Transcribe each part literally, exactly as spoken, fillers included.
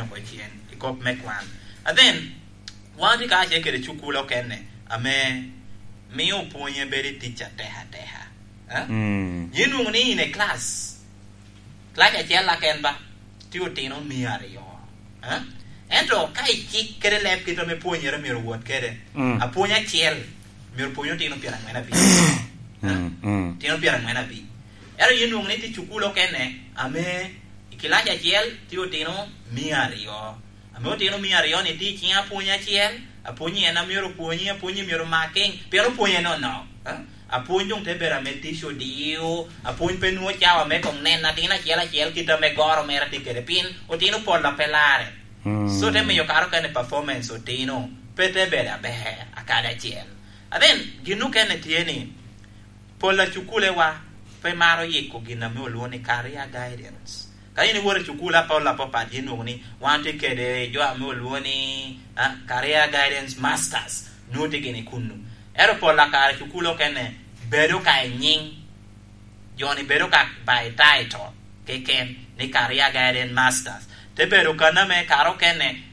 oko cen i kop me kwan. And then, wan tye ka ce kede cukul okene, ame mio opwonye bedo i tic atek ateka. Eh? Mm. Yin nwoŋo ni in e class, class acel la ken ba, tye otino mia aryo. Eh? Ento ka icik kede leb kit ame pwonyere myero owot kede, Mm. apwony acel myero pwony otino pyeraŋwen abic. Eh? Mm, mm. Otino pyeraŋwen abic. Ento yin nwoŋo ni tye cukul okene, ame i kilac acel tye otino mia aryo. Ame otino mia aryo ni tye i ciŋ apwony acel, apwony en a myero opwonyi, apwony myero omak kiŋ, pien opwonye nono. Eh? Apwony doŋ te bedo ame tic odio, apwony pe nwoŋo cawa me koŋ neno atin acel acel kit ame goro mere tye kede, pien otino pol a pe larre. Mm. So te miyo kare okene performance otino pe te bedo aber, akadi acel. And then, gin okene tye ni, pol a cukulewa pe maro yiko gin ame olwoŋo ni career guidance. Ka in iwoto i cukul apol apapat, yin nwoŋo ni wan tye kede jo ame olwoŋo ni, ah, career guidance masters, nwoŋo tye gini kunnu. Ento pol a kare cukul okene bedo ka i nyiŋ, jo-ni bedo ka by title keken ni career guidance masters. Te bedo kan ame kare okene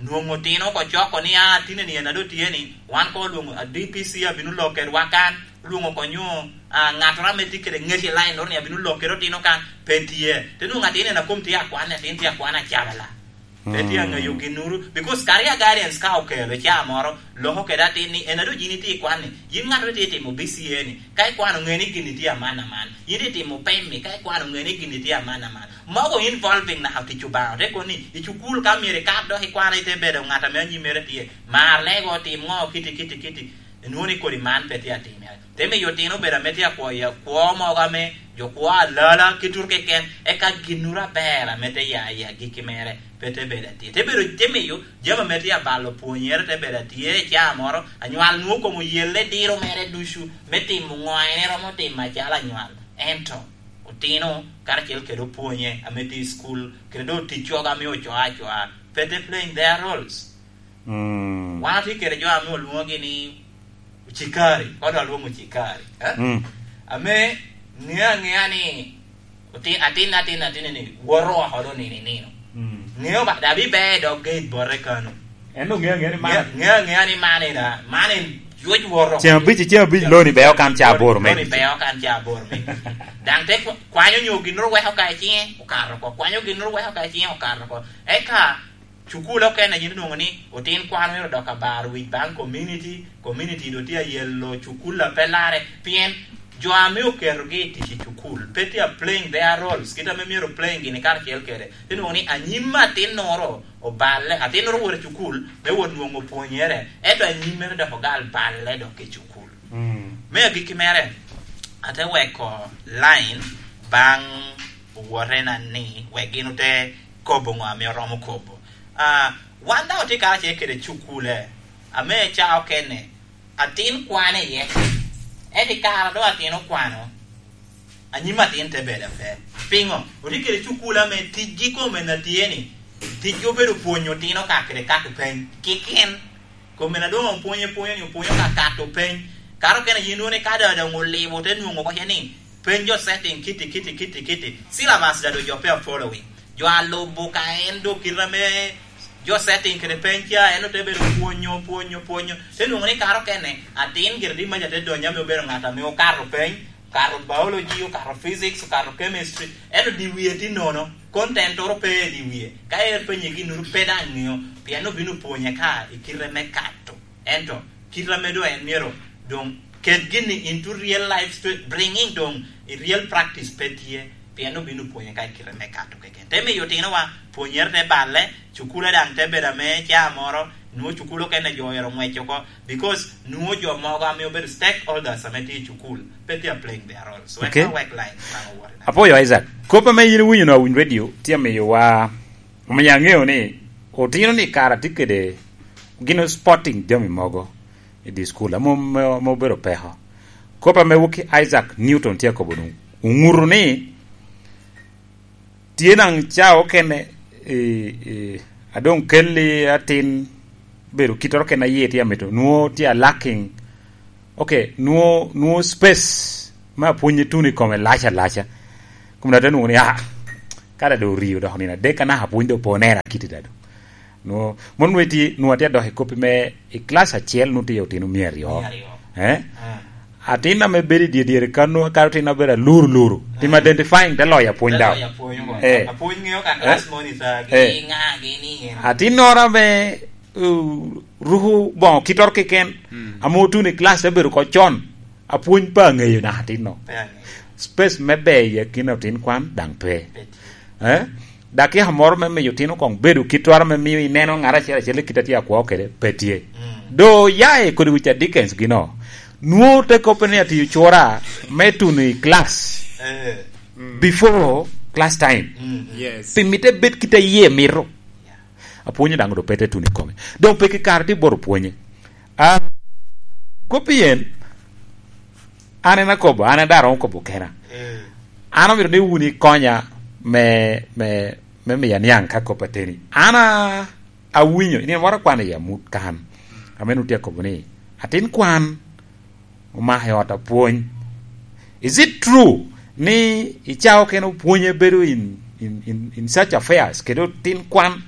nwoŋo otino oko coko ni, "Ah, tine ni en a doŋ tye ni, wan ko olwoŋo, ah, D P C abino lok kedwa kan, olwoŋo oko nyo, ah, ŋattoro ame tye kede ŋec i line-noro ni abino lok kede otino kan, pe tye." Te nwoŋo atin en a kom tye akwan, atin tye akwan acabala. Pe tye aŋeyo ginnoro, because career guidance ka okelo ca moro, loko kede atin ni, "En a doŋ yin itye i kwan ni, yin ŋattoro itye timo B C A ni, ka ikwano ŋe ni gin itye aman aman, yin itimo pem-mi, ka ikwano ŋe ni gin itye aman aman." Mogo involving naka tic Obaŋa, te kono ni, i cukul ka myero ikat dok ikwano, ite bedo ŋat ame anyimere tye, mar lego, tim ŋo, kiti, kiti, kiti. Inwoŋo ni kodi man pe tye atimere. Te miyo otino obedo ame tye akwo i akwo mogo ame jo kwo alala ki tuto keken, eka ginnoro aber ame te ya i agikki mere pe te bedo atye. Te bedo, te miyo jami ame tye abalo pwonyere te bedo atye i caa moro, anywal nwoŋo kom oyelle diro mere ducu me timo ŋo en eromo timo acalo anywal. Ento otino karacel kede opwonye ame tye i cukul, kede doŋ tic cogo ame ocoo acoa, pe te playing their roles. Mm. Wan otye kede jo ame olwoŋogi ni ocikari, kono alwoŋo ocikari, eh? Mm. Ame ŋeo aŋea ni otin, atin, atin, atin ni woto oko doŋ nino i nino. Mm. Ŋeo ba, daŋ biber i dog gate bote kano. En doŋ ŋeo aŋea ni man. Ŋeo, ŋeo aŋea ni man en, ah, man en ywoc woto oko. Ceng abic, ceng abic loni beo kan ca aboro me. Loni beo kan ca aboro me. Daŋ te kwa-, kwanyo nyo ginnoro weko ka i ciŋe, okato oko. Kwanyo ginnoro weko ka i ciŋe, okato oko. Eka cukul okene yin onwoŋo ni otin kwan myero dok abar wic baŋ community, community doŋ tye ayelo cukul a pe larre, pien jo ame oketogi i tic i cukul pe tye a playing their roles kit ame myero playing gini karacel kede. Te nwoŋo ni anyim atinnoro oballe, atinnoro owoto i cukul me wot nwoŋo pwonyere, ento anyimmere dok ogal balle dok i cukul. Mm. Me agikki mere, ate weko line baŋ owotena ni wek gin ote kobo ŋo ame oromo kobo. Ah, wan daŋ otye karacel kede cukule, ame ca okene, atin kwano iye. Ento i kare a doŋ atin okwano, anyim atin te bedo ape. Piŋo? Otye kede cukule ame ticgi kome na tye ni, ticgi obedo pwonyo otino ka kede kato peny. Kiken, kome na doŋ opwonyo, pwonyo ni opwonyo ka kato peny. Kare okene yin wone ka doŋ, doŋ olibo, te nwoŋo wacce ni, peny jo setting kiti, kiti, kiti, kiti. Syllabus daŋ doŋ jo pe a following. Jo a lubo ka en doŋ kite ame jo setting kede peny ca, en ote bedo pwonyo, pwonyo, pwonyo. Te nwoŋo ni kare okene, atin gire di maca te donyo ame obedo ŋat ame okato peny, okato biology, okato physics, okato chemistry. Ento di wie tye nono, content oro pe i di wie. Ka er penye ginnoro pe daŋ ŋeo, pien obino pwonye ka i kite me kato. Ento kite ame doŋ en myero doŋ ket gini into real life, sto-, bringing doŋ i real practice pe tye, pien obino pwonye ka i kite me kato keken. Te miyo otinowa pwonyere te balle, cukule daŋ te bedo ame ca moro, nwoŋo cukul okene jo oyero ŋwec oko, because nwoŋo jo mogo ame obedo stakeholders ame tye i cukul, pe tye a playing their roles. Wek, okay, wek line baŋ owot i. Apwoyo Isaac. Kop ame yin iwinyo no Awiny Radio, tye amiyowa, omiyo aŋeo ni otino ni kara tye kede gin sporting jami mogo i di school, amo, amo, amo obedo peko. Kop ame wok Isaac Newton tye akobo nu, oŋuto ni tye naŋ ca okene, eh, eh, a doŋ kelli atin bedo kittoro kene a yie tye amito, nwoŋo tye a lacking. Ok, nwoŋo, nwoŋo space me apwony tuno i kome lac alaca. Kom dok te nwoŋo ni, ah, Ada doŋ orio dok nino adek, anaka apwony doŋ pe onera kite da doŋ. Nwo-, mon nwo iti, nwo atye adok i koppi me i class acel, nwo tye otino mia aryo. Mia aryo. Eh? Ah. Atin ame bedo i dye dyere kan, nwo kara otin abedo aluru luru. Tim, ah, identifying te loyo apwony. Te daŋ. Loyo apwony mo. Eh. Apwony ŋeo kan, eh, class moni sa, eh, gi ŋa, gi ni en. Atinnoro ame, uh, ruko boŋo kitoro keken, mm, ame otuno i class te bedo oko con. Apwony pe aŋeyo naka atinno. Pe aŋeyo. Space me ber i akina otin kwan daŋ pe. Pe tye. Eh? Dakika moro me miyo otino koŋ bedo kitwaro me miyo ineno ŋat acel acel i kite a tye akwo kede, pe tye. Mm. Do ya i kodi wic a Dickens gino. Nwo te koppe ni atiyo cura me tuno i class, eh, mm, before class time. Mm. Yes. Pi mitte bed kite iye mito. Yeah. Apwonyo daŋ do pe te tuno i kome. Doŋ pe ki kare tye bot opwonye. Ah, kop pien an en akobo, an en daŋ aromo kobo kena. Mm. An omito ni wun ikonya me, me, me miya niaŋ ka kop ateni. An a-, awinyo, in wara kwano i amut kan. Ame nutye akobo ni, atin kwan omako i ot apwony. Is it true ni i cawa okene opwonye bedo in, in, in, in such affairs, kede otin kwan?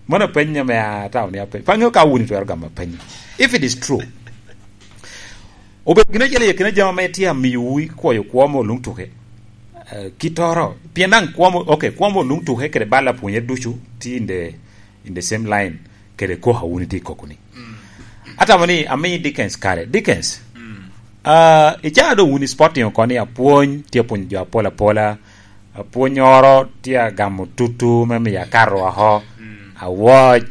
Mano apenyo me a taon apenyo. Pe aŋeo ka wun itwero gamo apenyo. If it is true, obedo gin acel i akina jami ame tye amiyowu ikwoyo kwo mo luŋ tuke. Eh, kitoro. Pien daŋ kwo mo, okay, kwo mo luŋ tuke kede bal apwonye ducu tye in the, in the same line kede kok a wun itye i koko ni. Mm. Atamo ni ami Dickens kare. Dickens, mm, ah, i caa doŋ wun i sporting oko ni apwony, tye apwonyo jo apol apola, apwonyoro tye agamo tutu me miyo akato oko. Mm. Awoc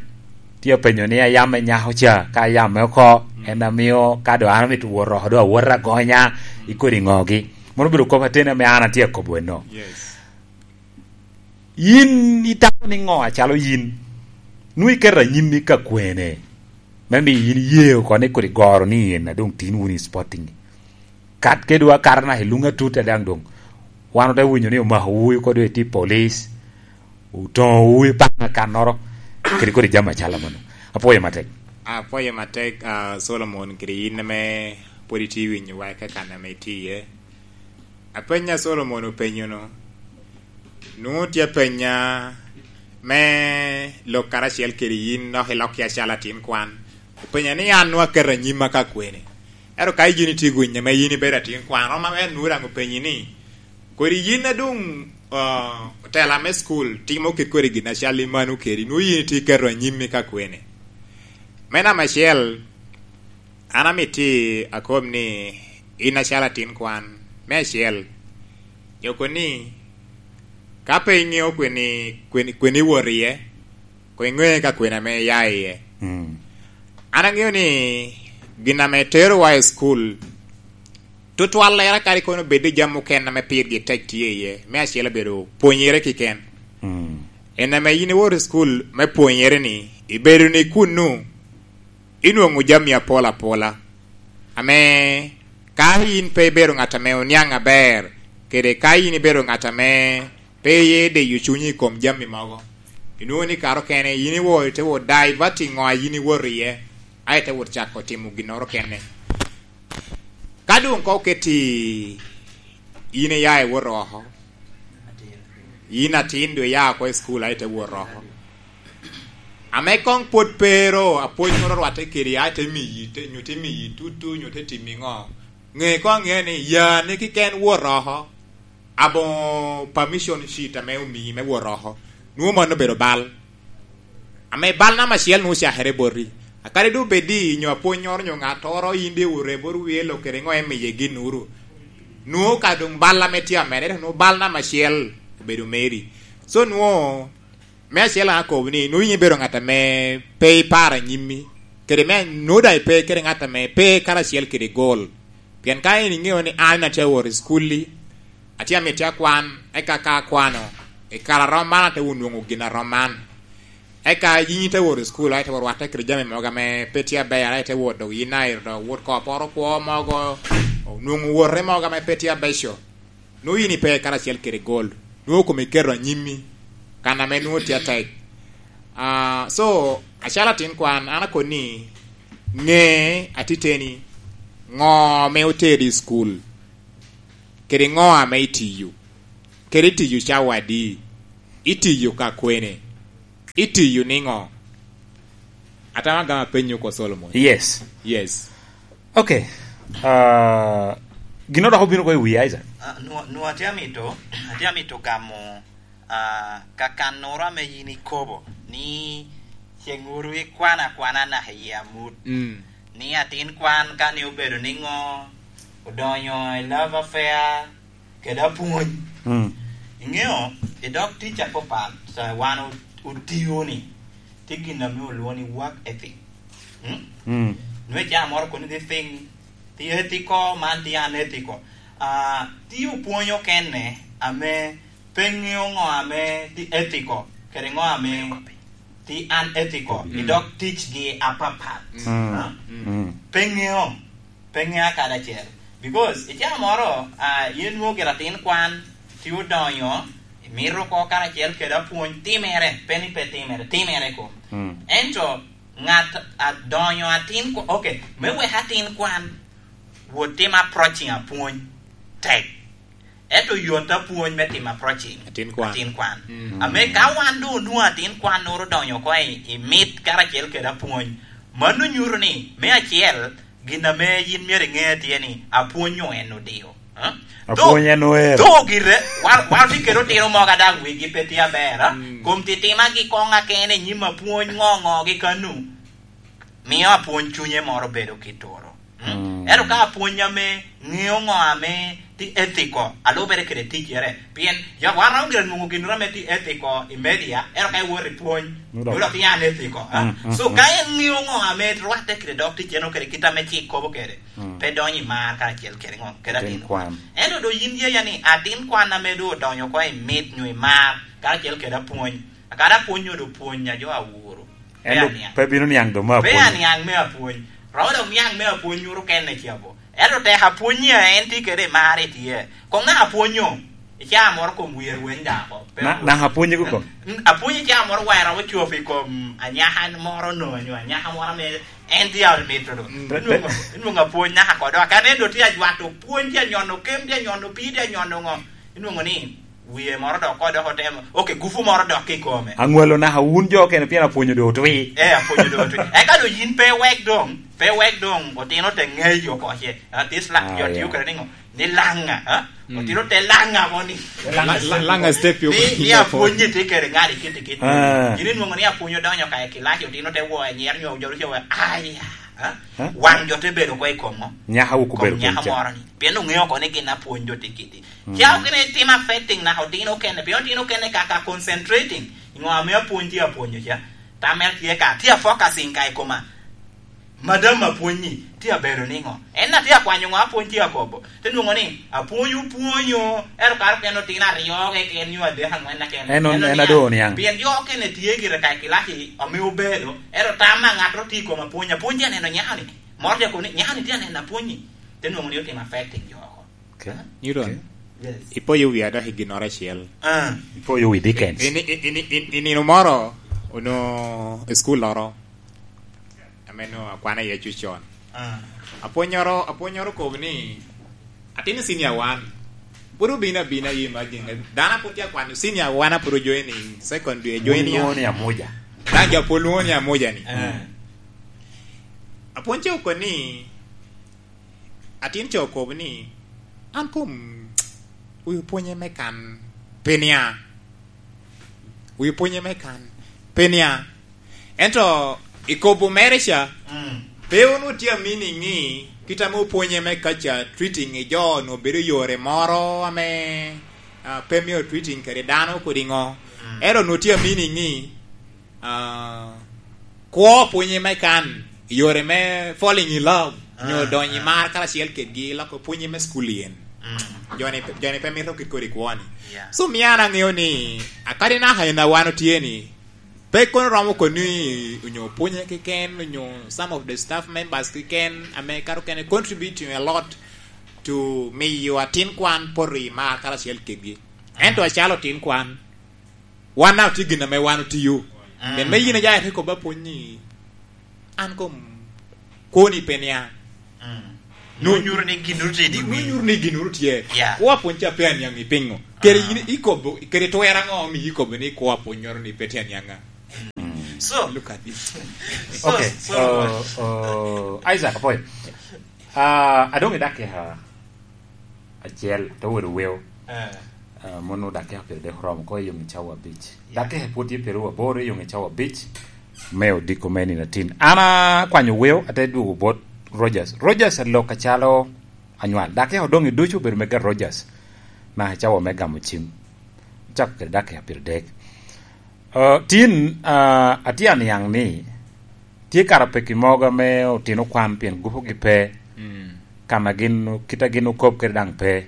tye apenyo ni ayam me nyako ca, ka ayamme oko, mm, en amio ka doŋ an amito wot oko, doŋ awot agonya, mm, i kodi ŋogi. Mano obedo kop ateni ame an atye akobo eno. Yes. Yin itamo ni ŋo acalo yin? Nwoŋo iketo anyimmi ka kwene? Me miyo yin iye oko ni kodi goro ni in a doŋ tin wun i sporting. Kat kede wa kato naka i luŋ atut a daŋ doŋ. Wan ote winyo ni omako wu kodi iti police, otoŋo wu i paŋ akannoro, kede kodi jami acalo mano. Apwoyo matek. Apwoyo matek, ah, Solomon, kede yin ame pwod itye winyo wa i kakan ame itye iye. Apeny a Solomon openyo-nu, nwoŋo tye apenya me lok karacel kede yin, dok ilok ya calo atin kwan. Openya ni an nwoŋo aketo anyimma ka kwene. Ento ka yin itye winyo ame yin ibedo atin kwan, rom aber nwoŋo daŋ openyi ni, kodi yin a doŋ, ah, otela me cukul timo kit kodi gin acal i mano kedi, nwoŋo yin itye iketo anyimmi ka kwene? Me namba acel, an amito akob ni in acalo atin kwan, me acel, joko ni, ka pe iŋeo kwene, kwene, kwene iwot iye, koŋ iŋe ka kwene ame iya iye. Mm. An aŋeo ni gin ame terowa i cukul, tutwallere kadi kono bed i jami mukene ame pirgi tek tye iye, me acel obedo pwonyere kiken. Mm. En ame yin iwot i cukul me pwonyere ni, ibedo ni kunnu, inwoŋo jami apol apola, ame ka yin pe ibedo ŋat ame oniaŋ aber, kede ka yin ibedo ŋat ame pe iye deyo cunyi i kom jami mogo, inwoŋo ni kare okene yin iwor, ite wot divert i ŋo a yin iwot iye, a ite wot cako timo ginnoro kene. Ka doŋ ka oketi yin iya iwot oko, yin atin doŋ iya oko i cukul, a ite wot oko. Ame koŋ pwod pero, apwony moro orwatte kedi, a ite miyi, te, nyo te miyi tutu, nyo te timi ŋo, ŋe koŋ aŋea ni yani kiken wot oko, aboŋo permission sheet ame omii me wot oko. Nwoŋo mano obedo bal. Ame bal namba acel nwoŋo ocakere boti. A kadi doŋ obed ni nyo apwonnyoro nyo ŋattoro, in doŋ iwot bot wie lok kede ŋo, imiye ginnoro. Nwoŋo ka doŋ bal ame tye amedde, nwoŋo bal namba acel obedo meri. So nwoŋo, me acel akobo ni, nwoŋo in ibedo ŋat ame pe iparo anyimmi. Kede me nwoŋo daŋ ipe kede ŋat ame pe karacel kede gol. Pien ka in iŋeo ni an atye awot i cukul-li, atye amito akwan, eka ka akwano, i kare a rom man ate wot nwoŋo gin a rom man. Eka yin ite wot i cukul, a ite wot rwatte kede jami mogo ame pe tye aber, a ite wot dok yin a ito dok wot ko poro kwo mogo, onwoŋo wote mogo ame pe tye abeco. Nwoŋo yin ipe karacel kede gol, nwoŋo kome iketo anyimmi, kan ame nwoŋo tye atek. Ah, so, acalo atin kwan, an akoni, ŋe atiteni, ŋo ame oteri i cukul, kede ŋo ame itiyo, kede itiyo cawa adi? Itiyo ka kwene? Itiyo niŋo? Atamo agama penyo ko Solomon. Yes. Yes. Okay. Ah, gino dok obino ko i wi Isaac. Ah, nwa-, nwa atye amito, atye amito gamo, ah, kakannoro ame yin ikobo ni ceŋ uru ikwana akwana naka i amut. Mm. Ni atin kwan ka ni obedo niŋo, odonyo i love affair, kede apwony. Mm. Iŋeo, i dog tic apapat, ah, wan o-, otio ni, tye gin ame olwoŋo ni work ethic. Mm? Mm. Nwe ca moro kono ni thing, the ethical, man the unethical. Ah, tye opwony okene ame pe ŋeo ŋo ame the ethical, kede ŋo ame the unethical, mm, i dog ticgi apapat. Mm. Ah? Mm. Pe ŋeo. Pe ŋea kadi acel. Because i caa moro, ah, yen nwoŋo gire atin kwan, tye odonyo, imito oko karacel kede apwony, timere, pe ni pe timere, timere kom. Mm. Ento ŋat adonyo atin kwa-, okay, me wek atin kwan, wot tim approaching apwony tek. Ento yot apwony me timo approaching atin kwan. Atin kwan. Mm. Ame ka wan doŋ onwoŋo atin kwan noro odonyo oko i, i mit karacel kede apwony, mano nyuto ni, me acel, gin ame yin myero iŋe tye ni apwony en odio. Eh? Apwony en oer. Tho gire, wa-, wan tye kede otino mogo a daŋ wigi pe tye aber, eh? Mm. Kom titimagi koŋ akene i nyim apwony ŋo ŋo gi kanu. Mio apwony cunye moro bedo kit turo. Mm? Mm. Ento ka apwony ame ŋeo ŋo ame tye ethical, alubere kede ticere. Pien jo wan romo gire nwoŋo gin ame tye ethical i media, ento ka iwot i pwony, nyo dok, nyo dok tye unethical, ah? Mm, mm, so, mm, ka en ŋeo ŋo ame rwatte kede dog ticere nyo kede kit ame cik kobo kede, mm, pe donyo i mar karacel kede ŋo, kede atin kwan. Ento doŋ yin yeya ni atin kwan ame doŋ odonyo oko i mit nyo i mar karacel kede apwony, kadi apwony nyo doŋ pwony a jo awuro. Ento pe bino niaŋ doŋ me apwony. Pe aniaŋ me apwony. Romo dok niaŋ me apwony nyuto kene cabo. Ento tek apwony a en tye kede mar i tye. Koŋ naka apwonyo, i caa moro kom wie rweny dako. Pe na-, apwony. Naka apwonyo ko kom? Mm, apwonyo i caa moro wa romo copo i kom anyaka moro no, nyo anyaka moro ame en tye a mito do. Mm. Inwoŋo, inwoŋo apwony naka kodo. Kan en do tye ajwato pwony, tye anyono kem, tye anyono pii, tye anyono ŋo. Inwoŋo ni, wie moro dok ko dok otemo. Ok, gufu moro dok i kome. Aŋwalo naka wun jo okene pien apwonyo doŋ otwi. Eh, apwonyo doŋ otwi. Eka doŋ yin pe wek doŋ, pe wek doŋ otino te ŋeyo oko ce. Ah, this la-, ah, jo tio kede niŋo? Ni laŋa, ha? Mm. Otino te laŋa mo ni. La-, la-, laŋa step yo. Ni, ni apwonyi tye kede ŋat i kiti kiti. Ah. Yin inwoŋo ni apwonyo donyo ka i kilaci, otino te wo anyira nyo ojoro ce we, aya, ha? Ha? Waŋ jo te bedo oko i kom ŋo? Nyaka wuku bedo kom nyaka moro ni. Pien oŋeo oko ni gin apwony jo tye kiti. Mm. Ca okene tim affecting naka otino okene, pien otino okene ka, ka concentrating i ŋo ame apwony tye apwonyo ca. Tam mere tye ka, tye a focusing ka i koma. Madam apwony-nyi tye abedo niŋo? En na tye akwanyo ŋo apwony tye akobo. Te nwoŋo ni, apwony opwonyo, ento kare okene otino aryo keken nyo adek aŋwen na kene. En on-, en en oniaŋ. Adoo oniaŋ. Pien jo okene tye gire ka i kilaci ame obedo, ento tam a ŋat ro tye i kom apwony, apwony tye aneno nyaka ni. Moro tye akobo ni, nyaka ni tye aneno apwony-nyi. Te nwoŋo ni otimo affecting jo oko. Okay. Newton, okay, yes, ipoyo wi adaki ginnoro acel. Ah. Ipoyo wi Dickens. I, i, i, i, i, i nino moro, onongo i school loro, ame onongo akwano iye cuc con. Ah. Apwonnyoro, apwonnyoro okobo ni, atin i senior one. Pwod obino abina, you imagine. Dano a pwod tye akwano senior one a pwod ojoining, second dwe joining. Pwod lwongo ni Amuja. Dano jo pwod lwongo ni Amuja ni. Ah. Apwony ca okobo ni, atin ca okobo ni, "An kom wi opwonye me kan pe nia. Wi opwonye me kan pe nia." Ento i kobo mere ca, mm, pe onwoŋo tye a meaning ni kit ame opwonye me kaca, treating i jo onwoŋo bedo yore moro ame, ah, pe mito treating kede dano kodi ŋo. Mm. Ento onwoŋo tye a meaning ni, ah, kwo pwonye me kan, yore me falling in love, nyo, ah, donyo i, ah, mar karacel kedgi, loko pwonye me school yen. Mm. Joni, joni pe mito kit kodi kwo-ni. Yeah. So, mio an aŋeo ni, akadi naka en a wan otye ni, pe kono romo kono ni onyo pwonye keken, onyo some of the staff members keken, ame kato kene contributing a lot to miyo atin kwan poto i mar karacel kedgi. Ento acalo tin kwan, wan daŋ tye gin ame wan otio. Mm. Pien me yin aja ite kobba pwony ni, "An kom kwoni pe niaŋ." Mm. Nu-, nu nyuto ni gin ru tye i di wi. Nu nyuto ni gin ru tye. Yeah. Kwa pwony ca pe aniaŋ i pingo. Kede in ikobo, kede twer aŋo omiyo ikobo ni kwo apwonnyoro ni pe tye aniaŋa? So, look at this. So, okay, so, uh, uh, Isaac Apoy. Uh, adong i dakika acel, to wero weo. Eh. Uh, mono dakika piero dek oromo ko i yong i cawa abic. Yeah. Dakika pwod tye piero aboro i yong i cawa abic. Me odiko me nino atin. An akwanyo weo, ate dwogo bot Rogers. Rogers alok acalo anywal. Dakika odoŋ i ducu obedo mega Rogers. Na i cawa me gamo cim. Cako kede dakika piero dek. Uh, tin, uh, atye aniaŋ ni tye kara peki mogo ame otino kwan pien gupogi pe. Mm. Kan a gin, kit a gin okob kede daŋ pe.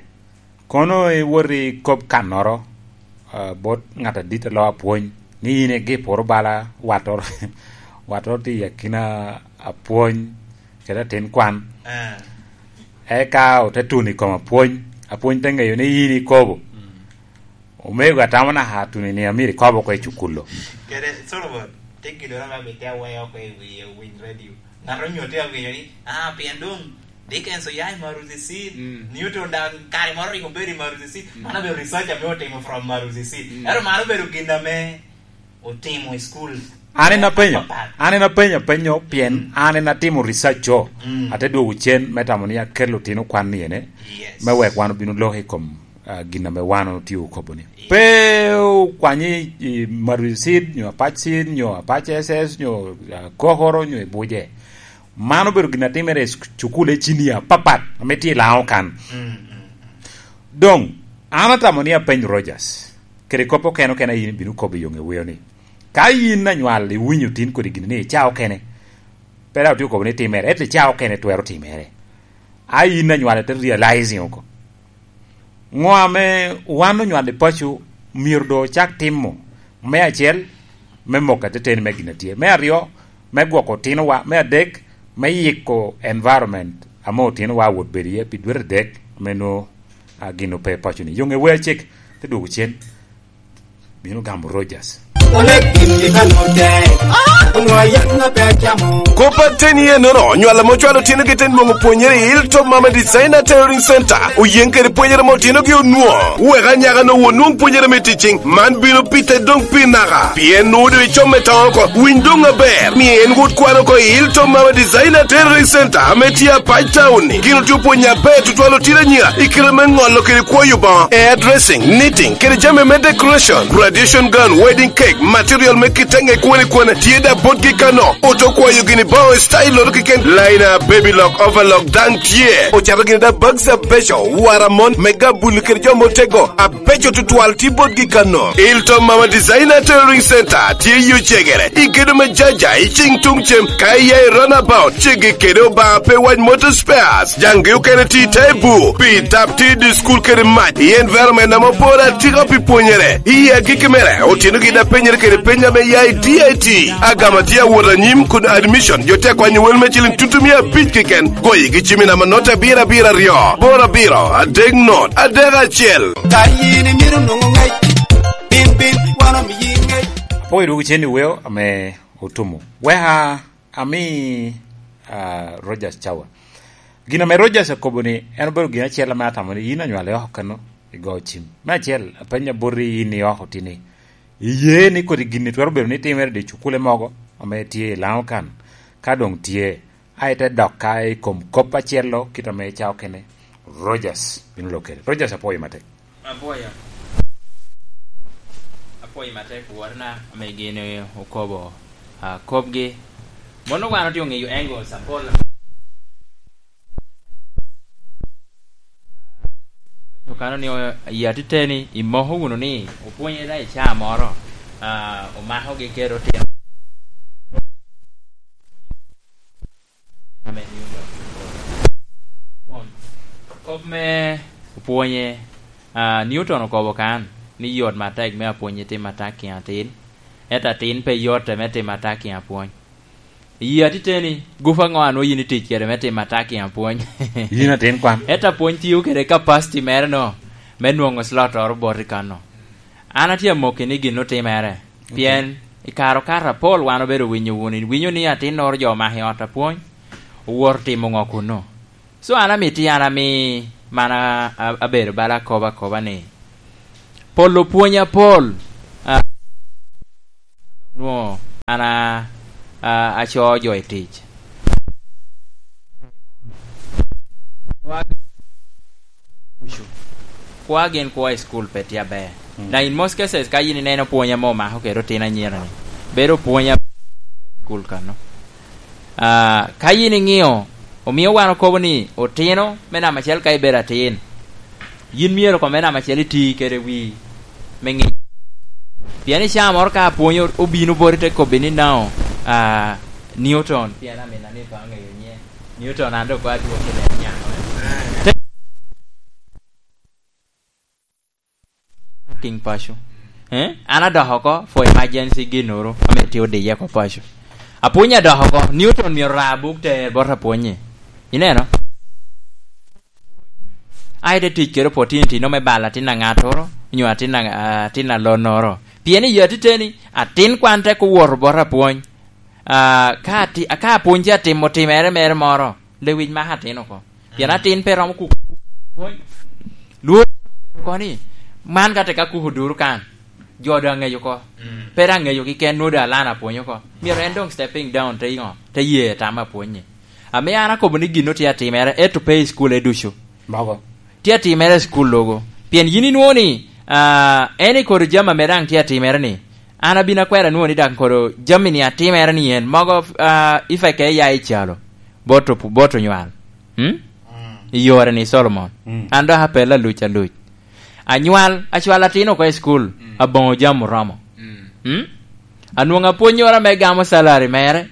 Kono iwot i kop kannoro, uh, bot ŋat adit a loo apwony, ni in igiporo bala watoro, watoro tye i akina apwony kede atin kwan. Eh. Eka ote tuno i kom apwony, apwony te ŋeyo ni in ikobo. Mm. Omego atamo naka tuno ni amiro ikobo oko i cukulo. Kede Solomon, te gidoro ame amito aweyo oko i wi, i winy radio. Ŋat onyo te awinyo ni, "Ah, pien doŋ Dickens oya i Maruzi Seed, mm, Newton daŋ kare moro rik obedo i Maruzi Seed." Mm. Mano obedo research ame otimo from Maruzi Seed. Mm. Ento mano obedo gin ame otimo i school. An en apenyo, apapat. An en apenyo apenyo pien, mm, an en atimo research o. Mm. Ate dwogo cen me tamo ni akel otino kwan ni ene, yes, me wek wan obin oloko i kom, ah, gin ame wan otye okobo ni. Yes. Pe okwanyi i Maruzi Seed, nyo Apac Seed, nyo Apac S S, nyo, ah, Kokoro, nyo i Buje. Mano obedo gin atimere i suk-, cukul e cinia apapat ame tye i Laŋo kan. Mm, mm, mm. Doŋ, an atamo ni apeny Rogers, kede kop okene okene a in ibino kobo i yoŋe weo ni, ka in anywal iwinyo tin kodi gini ni i caa okene, pe dok otye okobo ni timere, ento i caa okene twero timere. A in anywal ite realizing oko. Ŋo ame wan onywalo i paco myero doŋ ocak timo? Me acel, me moko ateteni me gin a tye. Me aryo, me gwoko otinowa. Me adek, me yiko environment ame otinowa awot bedo iye pi dwete adek, ame nwoŋo, a, gin ope i paco-ni. Yoŋe wea cek, te dwogo cen. Bino gamo Rogers. Onek gin i Kano tek, onwoŋo ayak ŋa pe acamo. Kop ateni enono, nywal ame ocwalo otinogi te nwoŋo pwonyere i Hilltop Mama Designer Tailoring Center, oyeŋ kede pwonyere ame otinogi onwoŋo. Wek anyaka-nu onwoŋ pwonyere me ticing, man bino pite doŋ pi naka, pien nwoŋo doŋ icome toŋo oko. Winy doŋ aber, mi en wot kwan oko i Hilltop Mama Designer Tailoring Center ame tye Apac Town-ni. Gin otye opwonyo aber tutwal otino anyira i kite me ŋolo kede kwoyo boŋo, hairdressing, knitting, kede jami me decoration, graduation gown, wedding cake, material me kite ŋe kwene kwene, tye da botgi kano. Oto kwayo gini boŋo i style-oro keken, liner, baby lock, overlock daŋ tye. Ocato gini da bags abeco, waramon, me gabuli kede jo motego, abeco tutwal tye botgi kano. Hilton Mama Designer Tailoring Center tye i Ocegere, i gedo me Jaja, i cing tuŋ cem, ka iya i runabout, ceggi kede Obaŋa pe wac Motor Spares. Jaŋgi okene tye i te bur, pi tap tye i dye cukul kede mac, i environment ame opore atika pi pwonyere. I agikki mere, otinogi daŋ penyere kede peny ame ya i D I T. Agama tye awot anyim kun admission jo te kwanyo wel me ciliŋ tutumia abic keken. Goyigi cim i namba not abiro abiro aryo, boro abiro, adek not, adek acel. Ka in imito nwoŋo ŋec, bin, bin, wan omiyi ŋec. Apwoyo dwogo cen i weo ame otumo. Weka ami, ah, Rogers Cawa. Gin ame Rogers okobo ni en obedo gin acel ame atamo ni in anywale oko kano igo cim. Me acel, apenyo boti in i oko tini, iye ni kodi gin-ni twero bedo ni timere i cukule mogo ame tye i Laŋo kan? Ka doŋ tye, a ite dok ka i kom kop acel-lo kit ame ca okene, Rogers bino lok kede. Rogers, apwoyo matek. Apwoyo. Apwoyo matek wotna ame gin okobo, ah, kopgi. Mono wan otye oŋeyo angles apol. Okano ni o-, i atiteni imoko wunu ni opwonye da i caa moro, ah, omakogi kede otino. Kop me opwonye, ah, Newton okobo kan ni yot matek me apwony i tim atak i atin, ento atin pe yotte me tim atak i apwony. Iyi atiteni, gup aŋo a nwoŋo yin itic kede me tim atak i apwony? Yin atin kwan. Ento apwony tio kede capacity mere no, me nwoŋo slot oro bot i kano. An atye amoki ni gin otimere, ok, pien i kare okato apol wan obedo winyo wunu, iwinyo ni atinnoro jo omako i ot apwony, owoto timo ŋo kuno? So an amito an ami, man a-, a-, abedo bala akobo akoba ni, Pol opwony apol. Ah, onwoŋo an a, a, acoo jo i tic. Kwa gin kwo i school pe tye aber. Mm. Na in most cases, ka yin ineno pwony ame omako kede otino anyira-ni, bedo pwony a school kanno. Ah, ka yin iŋeo, omio wan okobo ni otino me namba acel ka ibedo atin, yin myero kong me namba acel iti kede wii me ŋic. Pien i caa moro ka apwony o-, obino boti te kobbi ni, "Now, ah, Newton," pien amina ni pe aŋeyo nyiŋe. Newton an dok koŋ adwoki i lela nyako. Te-, King paco. Eh? An adok oko for emergency ginnoro ame tye odiye oko paco. Apwony adok oko, Newton myero ra buk ter bot apwonye. Ineno? Ai te tic kede opportunity no me balo atin a ŋattoro, nyo atin a, atin a lonnoro. Pien i atiteni, atin kwan tek owoto bot apwony. Ah, ka ati-, ka apwony tye atimo timere mere moro, lewic mako atin oko. Pien atin pe romo kuko. Lwor oko ni, man ka teka kuko duro kan, jo doŋ aŋeyo oko. Mm. Pe daŋ ŋeyo keken, nwoŋo doŋ alana apwony oko. Myero en doŋ stepping down, te iŋo, te ye tam apwonye. Ame an akobo ni gin tye atimere, eto pe i school e ducu. Mogo. Tye atimere i school logo. Pien yin inwoŋo ni, ah, en i kodi jami ame daŋ tye atimere ni, an abin akwero anwoŋo ni daŋ kodi jami ni atimere ni en. Mogo, ah, ifeke ya i calo. Bot opu-, bot onywal. Hmm? Mm. I yore ni, Solomon. Mm. An dok apel aluc aluc. Anywal, acwal atin oko i school, mm, aboŋo jami oromo. Mm. Hmm? Anwoŋo apwonnyoro ame gamo salary mere,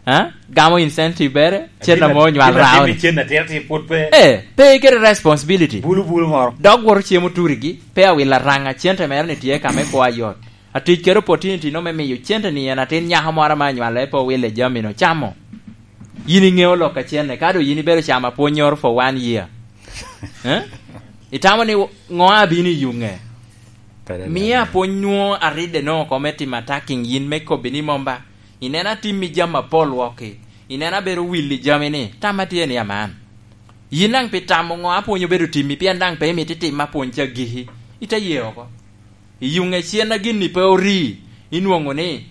ha? Gamo incentive mere, cen ame onywal raoni. Cen atira ti pwod pe. Eh, pe kede responsibility. Bulu bulu moro. Dok woto cemo turigi, pe awilo araŋa, cente mere ni tye ka me kwo ayot. Atic kede opportunity no me miyo cente ni en atin nyako moro ame anywale pe owile jami no camo. Yin iŋeo lok a cene, ka doŋ yin ibedo camo apwonnyoro for one year. Eh? Itamo ni ŋo abino i yuŋe? Mia apwony nwoŋo aridde no oko me timo attacking yin me kobbi ni mom ba. Ineno atimmi jami apol wok-ki. Ineno abedo wil i jami ni, tamma tye ni aman. Yin daŋ pi tamo ŋo apwony obedo timmi, pien daŋ pe imito itim apwony ca giki. Ite ye oko. I yuŋe cen a gin-ni pe ori, inwoŋo ni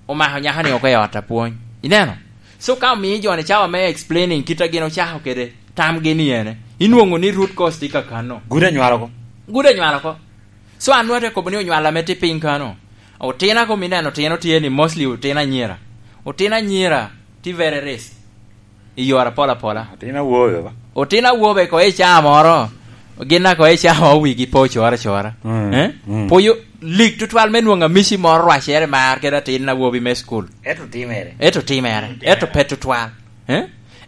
omako nyako-ni oko i ot apwony. Ineno? So ka omio jo-ni cawa me explaining kit a gin ocako kede tamgi ni ene, inwoŋo ni root cause tye kakanno. Gudo anywal oko. Gudo anywal oko. So an nwoŋo ate kobo ni onywal ame tye piny kano, otina kom ineno otino tye ni mostly otino anyira. Otino anyira tye very risk i yore apol apola. Otino awobe ba? Otino awobe ko i caa moro, gin a ko i caa moro wigi pe ocoro acora. Mm, eh? Mm. Pwoyo lik tutwal me nwoŋo amici moro rwacere mar kede atin awobi me school. Ento timere. Ento timere. Mm, ento pe tutwal. Eh?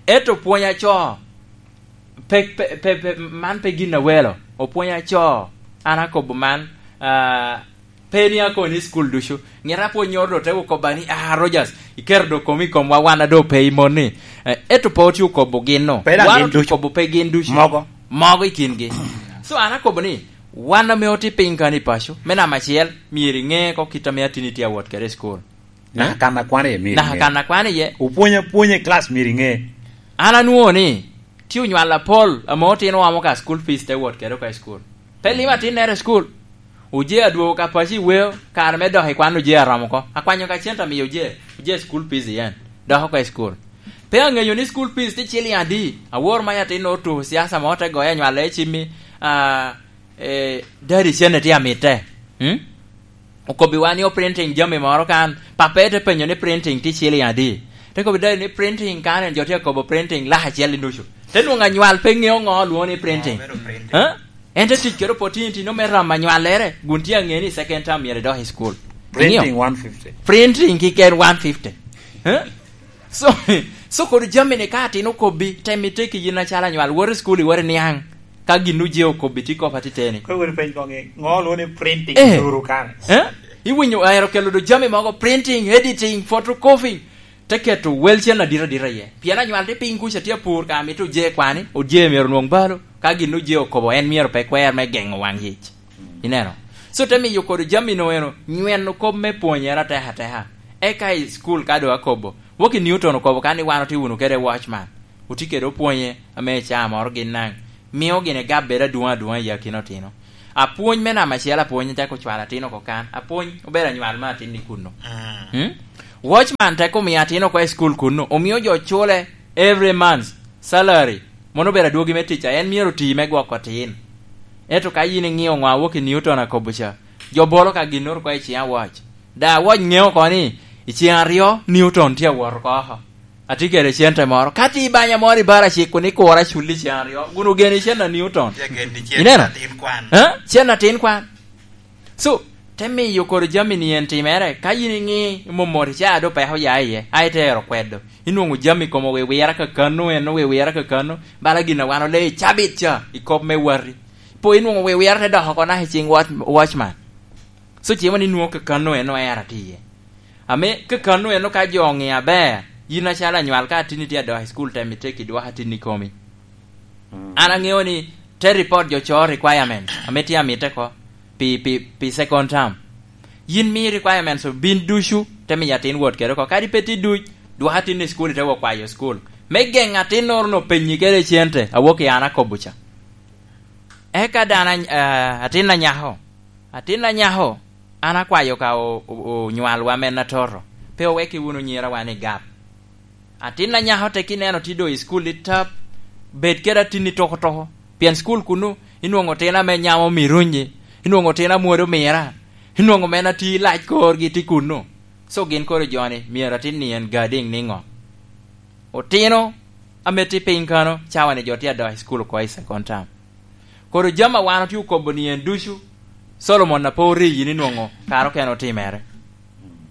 Ento pwony aco, pe, pe, pe, pe, man pe gin awelo. Opwony aco, an akobo man, ah, Pe ni akoni i cukul ducu. Ŋet apwonnyoro doŋ te okobba ni, "Ah, Rogers, iketo doŋ komi i komwa, wan a doŋ pe i moni." Eh, ento pe otye okobo gin-nu. Pe daŋ gin ducu. Wan otye okobo pe gin ducu. Mogo. Mogo i kingi. So, an akobo ni, wan ame otye piny kani i paco, me namba acel, myero iŋe oko kit ame atini tye awot kede i cukul. Naka kan a kwan iye myero iŋe. Naka kan a kwan iye. Opwony apwonya i class myero iŋe. An anwoŋo ni, tye onywal apol ame otino oamo ka school fees te wot kede oko i school. Pe limo atinnere i school. Oje adwogo ka paco i weo, kare me dok i kwan oje aromo oko. Akwanyo ka cente amiyo oje, oje school fees yen. Dok oko i school. Pe aŋeyo ni school fees tye ciliŋ adi. Awor mac atin otuko ciaca mo te goyo anywal i cimmi, ah, eh, daddy cene tye amitte. Hmm? Okobbiwa ni o printing jami moro kan, pape te penyo ni printing tye ciliŋ adi? Te kobbi daddy ni printing kan en jo tye akobo printing lak acel i nucu. Te nwoŋo anywal pe ŋeo ŋo olwoŋo ni printing. Ah, bedo printing. Huh? En te tic kede opportunity no me ramo anywalere, kun tye aŋe ni second term myero idok i school. Printing one fifty. Printing kiken one fifty. Huh? So, so kodi jami ni ka atin okobbi, tem iteki yin acalo anywal, wot i school, iwot iniaŋ. Ka gin oje okobbi, ti kop atiteni. Kono wot ipeny koŋ ni, ŋo olwoŋo ni printing? Eh. Duru kan. Eh? Iwinyo, aero kelo do jami mogo, printing, editing, photocopying. Te keto wel cen adit adit aye. Pien anywal tye piny kuca tye apur ka mito oje kwani, oje myero onwoŋ balo. Ka gin oje okobo, en myero pe kwer me geŋo waŋ yic. Ineno? So te miyo kodi jami no eno, nyweno kop me pwonyere atek ateka. Eka i school ka doŋ akobo, Woki Newton okobo ka ni wan otye wunu kede watchman, otye kede opwonye ame i caa moro gin naŋ mio gin egabere adwoŋ adwoŋ i akina otino. Apwony me namba acel, apwony te ocwalo atin oko kan. Apwony obedo anywal me atin i kunno. Mm. Hmm? Watchman te omio atin oko i school kunno. Omio jo cule every month, salary. Mono obedo adwogi me tic, a en myero oti me gwoko atin. Ento ka yin iŋeo ŋo awok i Newton akobo ca, jo bolo ka ginnoro oko i ciŋ awac. Da awac ŋeo oko ni, i ciŋ aryo, Newton tye awot oko. Atye kede cente moro. Ka tye i banya moro i Baracik kun ikura cul i cen aryo, kun ogeni cen a Newton. Tye geni cen Ineno? Atin kwan. Eh? Cen atin kwan. So, te miyo koro jami ni en timere. Ka yin iŋi momori ca do peko ya iye, a itero kwedo. Inwongo jami komo wiwira kakano, en wiwira kakano. Bala gin a wan ole i cabit ca, i kop me wati. Po inwongo wiwira te doko oko naka i ciŋ watch-, watchman. So, cimo ni nwoŋo kakano en oera tye iye. Ame kakano en ka jo oŋeo aber, yin acalo anywal ka atinni tye adok i school tem iteki dwoko atinni komi. Mm. An aŋeo ni te report jo coo requirement ame tye amite ko pi, pi, pi second term. Yin mi requirements obin ducu, te miyo atin wot kede oko. Kadi pe tye duc, dwoko atinni i school ite wok kwayo school. Me geŋo atinnoro no penyi kede cente, awok i an akobo ca. Eka dano any-, ah, atin anyako, atin anyako, an akwayo ka o-, o-, onywalwa men atoto, pe owekki wunu nyirawa ni gap. Atin anyako tek ineno tye doŋ i school i tap, bed kede atinni toko toko, pien school kunu inwongo tin ame nyamo mirunyi, inwongo tin amwodo mira, inwongo men atye lac korgi tye kunu. So gin koro joni myero atin ni en gadiŋ niŋo? Otino ame tye piny kano, cawa ni jo tye adok i school oko i second term. Koro jami a wan otye okobo ni en ducu, Solomon a pe oriyi ni nwoŋo kare okene otimere.